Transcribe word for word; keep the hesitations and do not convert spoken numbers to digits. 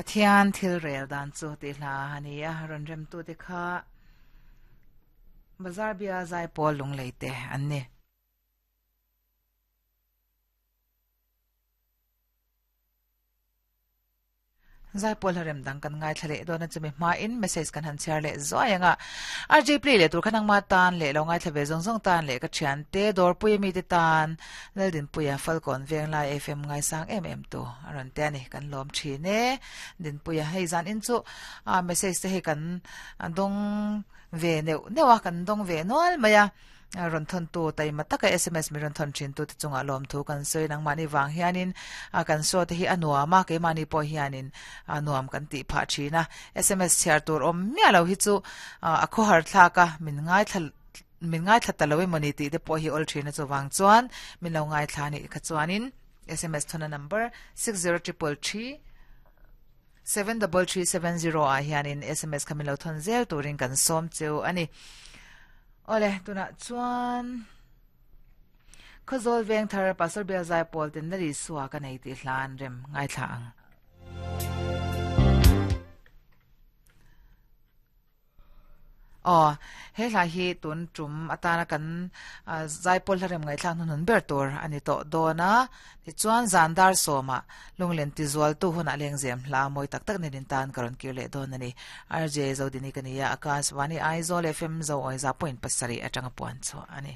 Pathian thil rel dan chu ti hla ani a ron rem tu te kha bazar bia zai pawl lung leite an ni. Zai pawl harem dang kan ngai thlale dona chumi ma in message kan han share le zoyanga R J play le tur khanang ma tan le lo ngai thlave zong zong tan le ka thian te dor pui mi te tan leldin puya falcon veng lai F M ngai sang em em tu aron te ani kan lom thine din puya hei zan in chu a message te he kan dong ve ne newa kan dong ve nol maya ron thon tu tai mataka S M S mi ron thon thin tu te chunga lom thu kan soi nang mani wang hianin a kan so te hi anuama ke mani po hianin anuam kan ti pha thina S M S share tur om mia lo hi chu a kho har thla ka min ngai thal min ngai thla taloi mani ti te po hi ol thina chu wang chuan min lo ngai thla ni kha chuanin S M S thona number six zero triple three seven double three seven zero a hianin S M S khamin lo thon zel turin kan som cheu ani. Ole tuna chuan khazol veng thar pastor bel zai pol tin nari suwa ka nei ti hlan rem ngai thla ang. Oh he hla hi tun tum atana kan zai pol rem ngai thlang nun ber tur ani to dona ti chuan zandar soma lunglen ti zual tu huna lengzem hla moi tak tak ni tan karon kirle don ani R J Zodini kania Akashvani Aizawl F M zo oiza point pasari atanga puan chu ani.